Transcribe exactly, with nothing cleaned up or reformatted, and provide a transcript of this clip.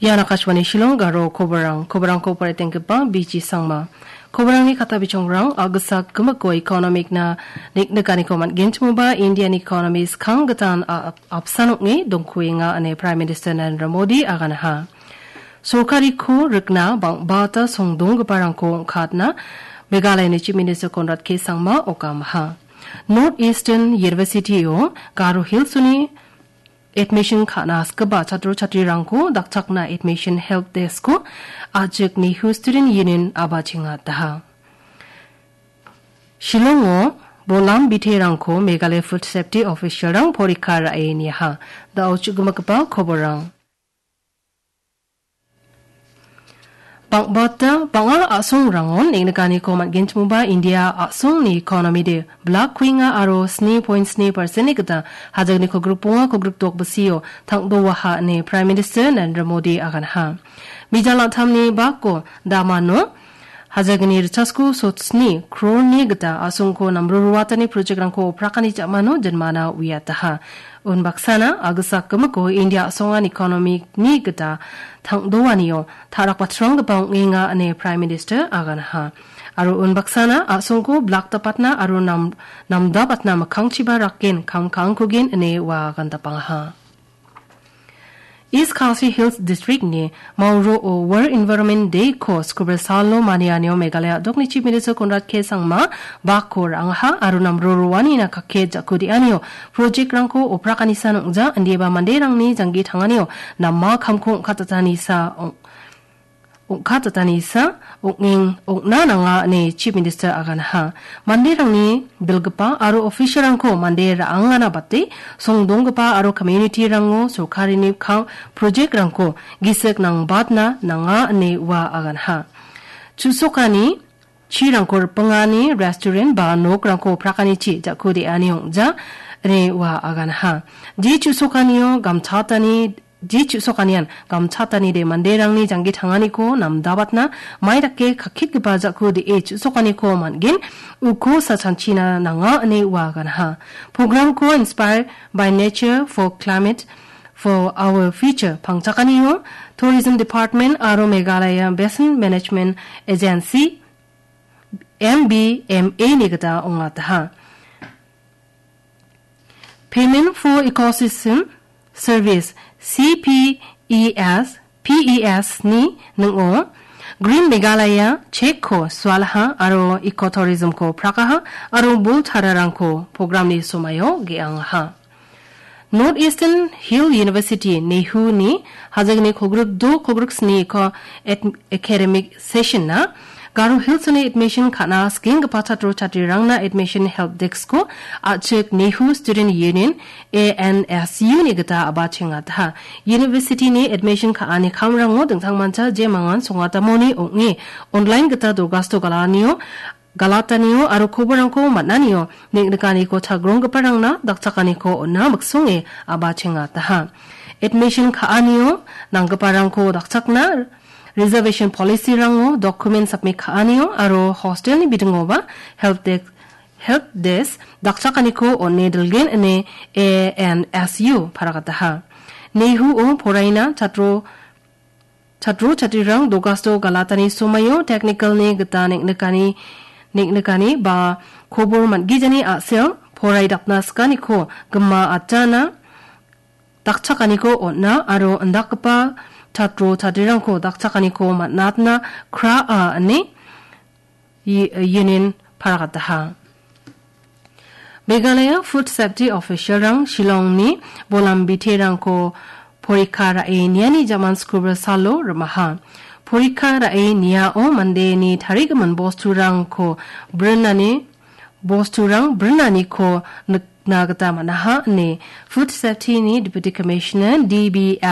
Ian Akashvani Shillong Garo koborang. Koborangko poraitenggipa B G Sangma. Koborangni kata bichongrang, a·gisa gimiko economic-na nik-, nikaniko man·genchimoba Indian economy skang gitan a-, ap-, apsan ong·e dongkuenga ine Prime Minister Narendra Modi aganaha. Sorkariko rikna bang·bata songdonggiparangko ong·katna Meghalayani Chief Minister Conrad K Sangma okamaha. North Eastern University-o Garo Hills-oni admission ka·na skgipa chatro chatrirangko dakchakna admission help desk-ko a·chik Nehu Student Union abachengataha. Shillongo bolam biterangko Meghalaya Food Safety Official-rang porikka ra·e niaha. Da·o chu·gimagipa koborrang. Bang·bata bang·a a·songrangon neng·nikaniko man·genchimoba India a·songni economy-de blak kuenga aro sni point sni percent-ni gita hajakni kogrikbonga kogrikdok bisio tang·doaha ine Prime Minister Narendra Modi aganaha. Bijal an·tamni bako damano hajakni richasko sotsni crore-ni gita a·songko namro ruatani project-rangko oprakani ja·mano jinmana uiataha. Unbaksana a·gisa gimiko India a·songan economy-ni gita tang·doanio ta·rakbatranggipa ong·enga ine Prime Minister aganaha. Aro unbaksana a·songko blak dapatna aro nam-, namdapatna mikkangchiba raken kam ka·angkogen ine ua agandapangaha. East Khasi Hills District-ni Mauro-o World Environment Day-ko skubri salo manianio Meghalaya a·dokni Chief Minister Conrad K Sangma bakko ra·angaha aro namro roanina kake ja·kudeanio project-rangko oprakanisan ong·ja indiba manderangni janggi tanganio nama kamko ong·katatanisa ong-, ong·katatanisa ong·eng ong·na nanga ine Chief Minister aganaha. Manderangni bilgipa aro official-rangko mande ra·angana bate songdonggipa aro community-rango sorkarini ka-, project-rangko gisik nangbatna nanga ine ua aganaha. Chu·sokani chirangko ripengani restaurant ba nokrangko prakanichi ja·kudeani ong·ja ine ua aganaha. Je chu·sokanio gamchatani, je chu·sokanian gamchatanide manderangni janggi tanganiko namdabatna mai dake kakkitgipa ja·kude chu·sokaniko man·gen, uko sachanchina nanga ine ua aganaha. Program-ko Inspired by Nature for Climate for Our Future pangchakanio Tourism Department aro Meghalaya Basin Management Agency, M B M A-ni gita ong·ataha. Payment for Ecosystem Service, C P E S, P E S-ni ning·o Green Meghalaya check-ko sualaha aro ecotourism-ko prakaha aro bol tararangko program-ni somaio ge·angaha. North Eastern Hill University, NEHU-ni hajagni kogrikdo kogriksiniko et-, academic session-na Garo Hills-oni admission ka·na skenggipa chatro chatrirangna admission help desk-ko a·chik NEHU Student Union, A N S U-ni gita abachengataha. University-ni admission ka·ani kamrango dingtangmancha jemangan songatamoni ong·e online gita dogasto galanio galatanio aro koborrangko man·anio neng·nikaniko chagronggiparangna dakchakaniko on·a miksonge abachengataha. Admission ka·anio nanggiparangko dakchakna reservation policy-rango document submit ka·anio aro hostel-ni bidingoba help desk, help desk dakchakaniko on·e dilgen ine A N S U paragataha. NEHU-o poraina chatro Chatro chatrirang dogasto galatani somaio technical-ni gita neng·nikani, neng·nikani ba kobor man·gijani a·sel porai dapna sikaniko gima atana dakchakaniko on·a aro indakgipa chatro chatrirangko dakchakaniko man·atna kra·a ine i-, ienin paragataha. Meghalaya Food Safety Official-rang Shillong-ni bolam biterangko porikka ra·e niani jaman skubri salo rimaha. Porikka ra·e niao mandeni tarigimin bosturangko brinani, bosturang brinaniko nikna gita man·aha ine Food Safety-ni Deputy Commissioner D B